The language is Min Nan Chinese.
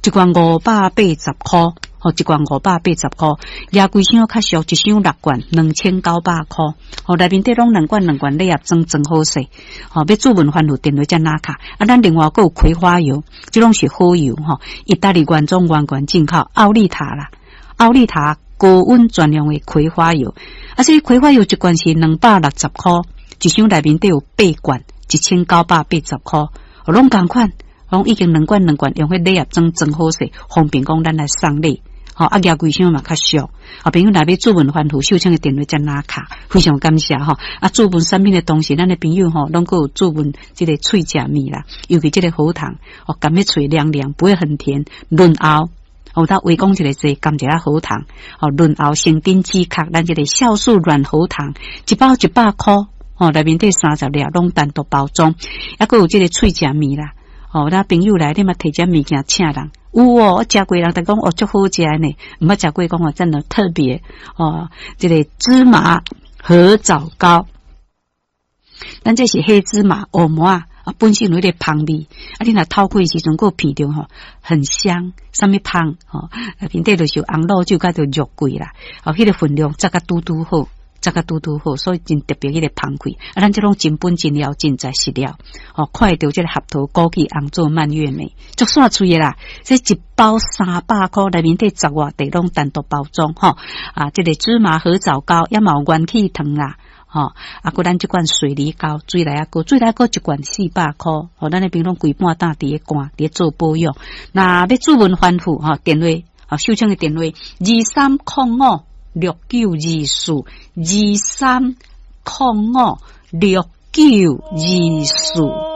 一罐580箍，吼，一罐580箍，蜈規箱較俗，一箱六罐，2900箍。吼，內面底攏兩罐兩罐禮盒裝裝好勢。吼，欲注文番薯電話才拿卡。啊，咱另外閣有葵花油，這攏是好油吼，意大利原裝原罐進口，奧利塔啦，奧利塔高溫專用的葵花油。啊，這個葵花油一罐是260箍，一箱內面底有八罐，1980箍，攏仝款。攏已經兩罐兩罐用彼禮盒裝裝好勢，方便講咱來送禮。吼，啊，蜈規箱嘛較俗。啊，朋友若欲注文番薯秀清的電話才拿卡，非常感謝吼。啊，注文產品的同時，咱的朋友吼，攏閣有注文這個喙食物啦，尤其這個喉糖，哦，含咧喙涼涼，不會很甜，潤喉。哦，他話講一个字，含一下喉糖，哦，潤喉生津止渴，咱這個酵素軟喉糖，一包100箍，吼，內面底30粒，攏單獨包裝，抑閣有這個喙食物啦。哦，咱朋友來，你嘛提這物件請人，有哦，我食過人，逐講哦，足好食呢，毋捌食過講哦，真的特別哦，這個芝麻核棗糕，咱這是黑芝麻烏麻啊，本身有彼個芳味，啊，你若透開時陣，閣有鼻著吼，很香，啥物芳吼，面底就是有紅露酒佮著肉桂啦，哦，彼個分量抓甲拄拄好。這個拄拄好，所以真特別彼個芳氣。啊，咱這攏真本真料真材實料，哦，看會著這個合桃枸杞紅棗蔓越莓，足煞喙的啦。這一包300箍，內面底十外塊攏單獨包裝，吼。啊，這個芝麻核棗糕也嘛有元氣糖啦，吼。啊，閣咱這款水梨糕、水梨仔糕、水梨仔糕一罐400箍，吼，咱那邊攏規半擔佇咧罐，佇咧做保養。若欲注文番薯，吼，電話，吼，秀清的電話23056924，23056924。